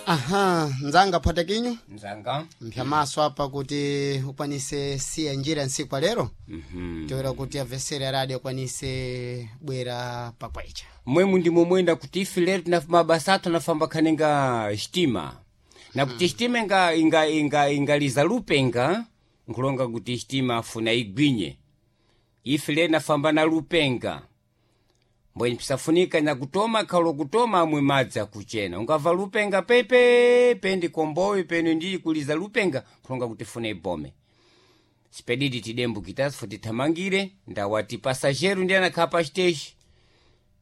Aha, nzanga phwata kinyu Nzanga. mphyamaso apa kuti ukwanise siya njira nsiku alero. Toera kuti avesere a radio akwanise bwera pakwecha. Mwemu ndimo mwenda kuti ife lero mabasa athu anafamba khaninga xitima na kuti xitima ingaliza lupenga, nkulonga kuti xitima afuna igwinye. Ife lero nafamba na lupenga mbwenye pisafunika nyakutoma khalo kutoma amwe madzi akuchena. Ungamva lupenga pepe pendi komboyo penu ndili kuliza lupenga, nkulonga kuti funa ibome. Sipedidi tidembukitasi futi thamangire ndawati pasajero ndi anakhala pa xiteshi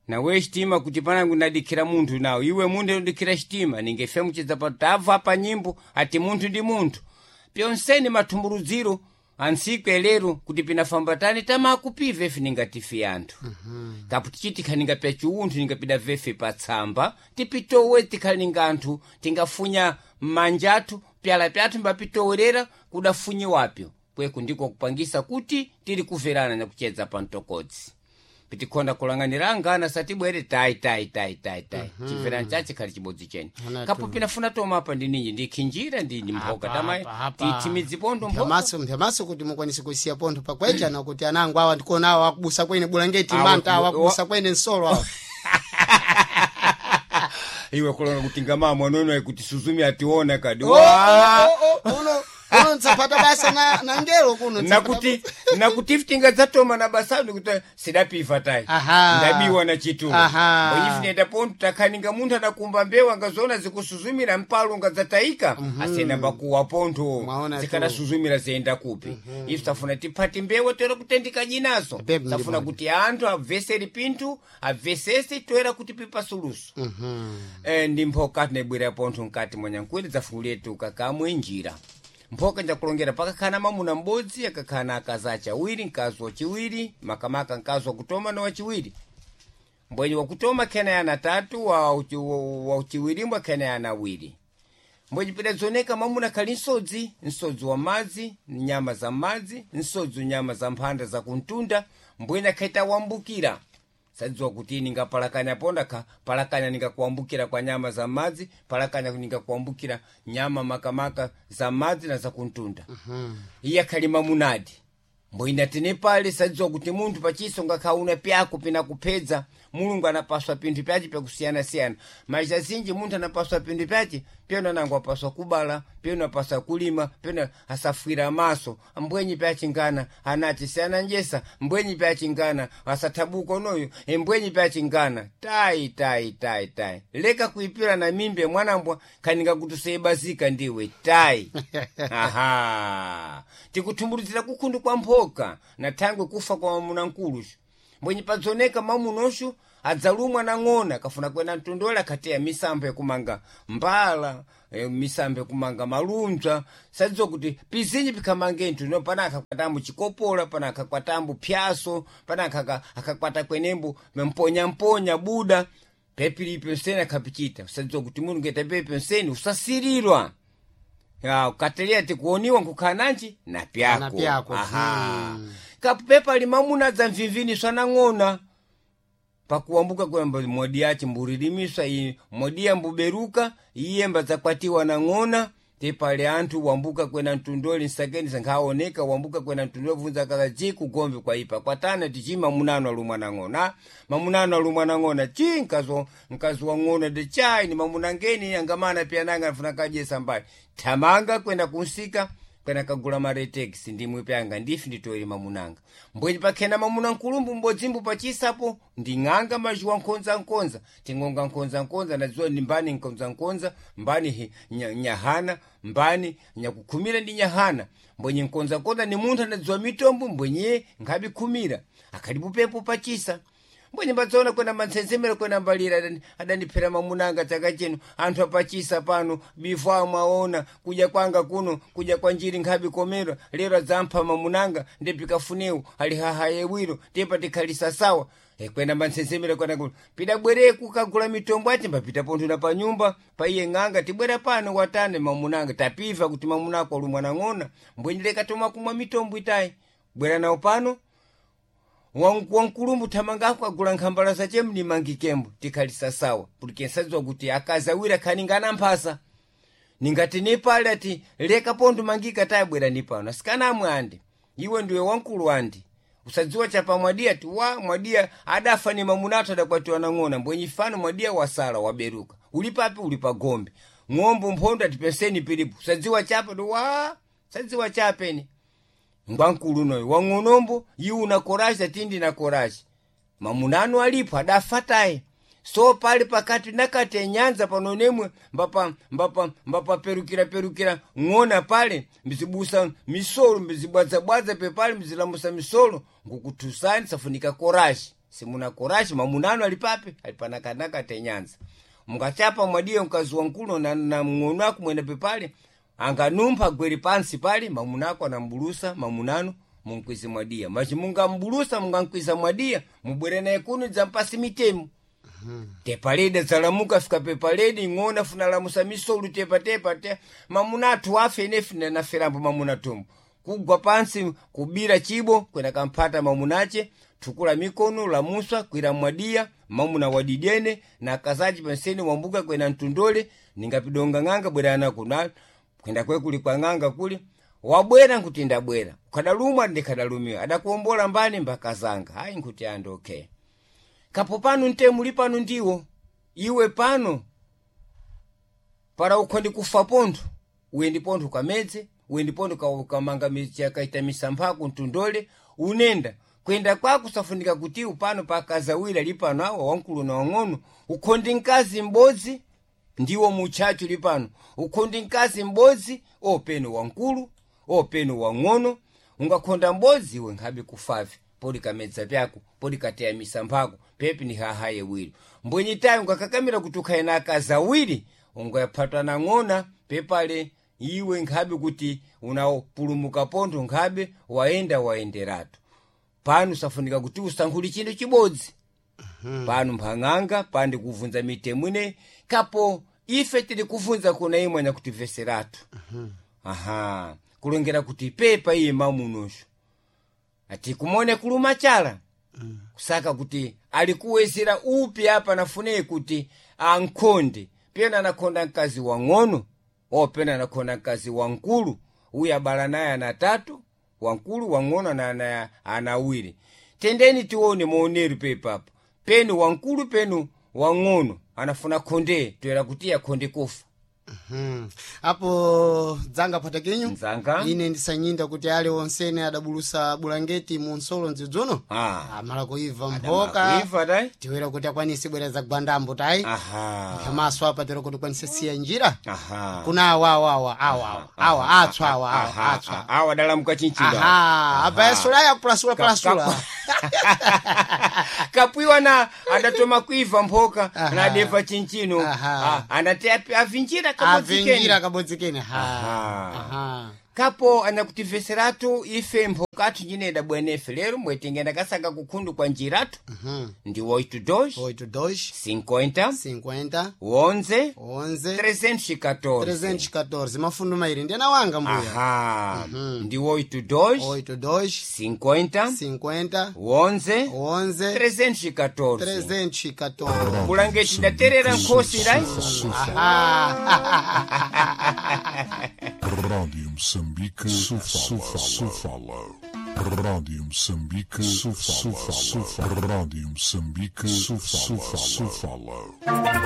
nawe xitima kuti panangu ndadikhira munthu nawo iwe munthu ndikhira xitima ningefe muchidza pa tabva pa nyimbo ati munthu ndi munthu pyonseni mathumburudziro antsiku elero kuti pinafamba tani tamakupiva ife ningatifi anthu. Kapo tichiti khaninga pya chiunthu ningapida vefe patsamba tipitowe tikhalinga anthu tingafunya m'manja athu pyala pyathu mbapitowerera kudafunyiwapyo kweku ndiko kupangisa kuti tili kuverana nakuchedza pa mtokodzi pitikhonda kulang'anira angana satibwere tai tai tai tai tai. Chimverani chache khali chibodzi chene. Ana kapo pinafuna toma apa ndi ninji ndikhinjira ndi mphoka tamayi Apa, tithimidzipondo mphoka. Mphyamaso kuti mukwanise kusiya pontho pakwecha na kuti anangu awa ndikuona awa akubusa kwene bulangeti Awa mbanta awa akubusa kwene nsolo awa. Iwe kulonga kuti ngamamwa nono kuti suzumi ationa kadi. Oh, oh, oh, oh, uno uno ntsapata basa na ngelo kuno ntsapata. Nakuti ife tingadzatoma na basanu kuti sidapiva tayi. Aha. Ndabiwa na chitulo. Aha. Mbonyi ife nenda takhaninga munthu adakumba mbewu angazoona zikusuzumira mpalo ngadzatayika asiyena mbakuwa pontho. Mwaona tu. Zikadasuzumira ziyenda kupi. Ife tafuna tiphati mbewu toera kutendika jinazo. Pepe Tafuna ndibona. kuti anthu abveseri pinthu abvesese toera kuti pipa suluso. Ndi mphoka tinabwera pontho mkati mwa nyankwere dzafukuletu kakamwe njira mphoka njakulongera pakakhala mamuna m'bodzi akakhala akazi ace awiri, mkazi wachiwiri makamaka mkazi wakutoma na wachiwiri. Mbwenye wakutoma khena yana atatu, wa uchiwirimbo khena yana awiri. Mbwenye pidadzoneka mamuna khali nsodzi, nsodzi wa madzi nyama za madzi, nsodzi nyama za mphanda za kuntunda. Mbwenye akhaita wambukira sadziwa kuti ningapalakanya ponda ka palakanya ningakuambukira kwa nyama za madzi, palakanya ningakuambukira nyama makamaka za madzi na za kuntunda. Iye akhali mamunadi mbwina tine pale sadziwa kuti munthu pachiso ngakhauna pyako pinakuphedza. Mulungu anapaswa pinthu pyace pyakusiyanasiyana maisha zinji munthu anapaswa pinthu pyace pyona nango apaswa kubala pyona apaswa kulima pyona asafwira maso mbwenyi pyachingana anachi njesa mbwenyi pyachingana asathabuka unoyo mbwenyi pyachingana tai tai tai tai leka kuipira na mimbe mwanambwa khaninga kuti useyebazika ndiwe tai. Aha, tikuthumburudzira kukhundu kwa mphoka na thangwe kufa kwa mamuna mkuluxu mbwenye padzoneka mamunoxu adzalumwa na ng'ona kafuna kwena mtundola akhateya misampho yakumanga mbala, misampho yakumanga malunzwa sadziwa kuti pizinji pikhamange nthu no pana akakwatambo chikopola pana akakwatambo phyaso pana akakwata kwenembo mponyamponya buda pepilipi nseni akhapichita sadziwa kuti munthu ngeta pepi nseni usasirirwa. Ya, ukatelera tikuoniwa nkukhala nanji na pyako. Na pyako. Aha. Kapepa limamuna dza mvimviniswa nang'ona pakuwambuka kwamba modi yace mburilimisa iyi modi yambuberuka iye mbadzakwatiwa nang'ona tepale anthu wambuka kwena mtundoli nsakeni sankhaoneka wambuka kwena mtundoli vunza kala ci kugombe kwaipa kwatana tici mamunano alumwa nang'ona mamunano alumwa nang'ona ci mkazi wa ng'ona de chai ni mamunangeni angamana piananga afuna kadyesa mbali thamanga kwenda kunsika kwena kagula maretex ndimwe pyanga ndifi nditoere mamunanga mbwenye pakhena mamuna nkulumbu mbodzimbu pachisapo nding'anga mazhuwa nkhonza tingonga nkhonza nadziwa ndi mbani nkhonza mbani nyahana mbani nyakukhumira ndi nyahana mbwenye nkhonza ni munthu anadziwa mitombo mbwenye nkhabikhumira akhalipo pepo pachisa mbwenye mbadzaona kwena mantsentsemero kwena mbalira adandiphera mamunanga chaka chino anthu apachisa pano bifu amwaona kudya kwanga kuno kudya kwa njiri nkhabi komera lero adzampha mamunanga ndipikafunewu ali hahaye wiro tepa tikhalisa sawa. Kwena mantsentsemero kwena kuno pidabwereku kagula mitombo ati mbapita pontho na panyumba paiye ng'anga tibwera pano watane mamunanga tapiva kuti mamunako alumwa nang'ona mbwenye leka toma kumwa mitombo itayi bwera nawo pano wankulumbu thamangako agula nkhambala zace mnimangikembo tikhalisa sawa porque nsadziwa kuti akazi awiri akhaningana mphasa. Ningati nipale ati leka pondu mangika tayabwera nipano asikana amwe andi iwe ndiwe wankulu andi usadziwa chapa mwadiya ti wa mwadiya adafa ni mamunatu adakwatiwa nang'ona mbwenyi fano mwadiya wasala waberuka uli papi uli pa gombe ng'ombo mphondo ati penseni pilipo usadziwa chapa ti wa sadziwa chapeni ngwankulu noyo wang'onombo iwe una koraji ati ndina koraji mamunanu alipo adafa taye so pali pakati nakati enyanza pano nemwe mbapa mbapa mbapaperukira perukira ng'ona pale mbizibusa misolo mbizibwadzabwadza pepale mbizilamusa misolo ngukuthusani safunika korashi simuna korashi mamunanu ali papi ali panakanakati enyanza mungachapa mwadiye mkazi wankulu na mng'ono ako mwene pepale anganumpha gweri pansi pale mamunako anambulusa mamunanu munkwize mwadiya machi mungambulusa mungankwiza mwadiya mubwere naye kuno dzampasi mitemo tepaledi adzalamuka fika pepaledi ng'ona funalamusa misolu tepatepa te mamuna athu afe ine fina naferambo mamuna tumbo kugwa pansi kubira chibo kwena kamphata mamunache thukula mikono lamuswa kwira mwadiya mamuna wadidene na kazachi penseni wambuka kwena mtundole ningapidonga ng'anga bwerana kuna kwenda kwe kuli kwa ng'anga kuli wabwera nkuti ndabwera ukadalumwa ndikadalumiwa adakuombola mbani mbakazanga hayi nkuti andi okay kapo pano ntemu pano ndiwo iwe pano para ukhondi kufa pontho uyendi pontho kamedze uyendi pontho ukamanga kaita misampha mtundole unenda kwenda kwako safunika kuti upano pakazawira lipano awa wankulu na wang'ono ukhondi mkazi m'bodzi ndiwo mutchachu lipano ukhondi mkazi m'bodzi openo wankulu openo wang'ono ungakhonda m'bodzi iwe nkhabe kufavi podi kamedza pyako podi kateya misamphako pepi ni hahaye wiri mbwenyi tayi ungakakamira kuti ukhale na akazi awiri ungaphatwa na ng'ona pepale iwe nkhabe kuti unapulumuka pontho nkhabe waenda waenderatu pano safunika kuti usankhule chinthu chibodzi pano mphang'anga pandi kuvunza mitemo ine kapo ife tili kuvunza kuna imwe nyakutimveseratu aha kulongera kuti pepa iye mamunosho ati kumone kuluma chala kusaka kuti alikuwezera upi apa nafuneye kuti ankhonde pena anakhonda mkazi wang'ono o pena anakhonda mkazi wankulu uyu abala naye ana tatu wankulu wang'ono na ana awiri tendeni tione maoneru pepapo penu wankulu penu wang'ono anafuna khonde toera kuti akhonde kufa Apo dzanga patakinyu Nzanga. ine ndisanyinda kuti ale onsene adabulusa bulangeti mu nsolo mdzidzuno Ah. amala kuibva mphoka kuiva tayi tiwera kuti akwanise bwera za gwandambo tayi aha pamaso apa tera kuti ukwanise siya njira aha kuna awa awa awa awa awa awa atswa awa awa Aha, atswa awa dalamuka chinchilo aha apa yasulaya kupulasula pulasula kapwiwa na adatoma kuiva mphoka Aha. na adeva chinchino Aha. Ah, anati avinjira kabodzikeni avinjira kabodzikeni ha Aha. aha kapo anakutimveseratu ife mphokathu nyine bwenefe lero mwetingenda kasaka kukhundu kwa njiratu ndi 82 82 50 50 11 11 314 314 mafundo mairi ndiyana wanga mbuya aha ndi 82 82 50 50 11 11 314 314 bulangeti ndaterera nkhosi lai Rádio Moçambique, Sofala, Sofala. Rádio Moçambique, Sofala, Sofala. Rádio Moçambique, Sofala, Sofala.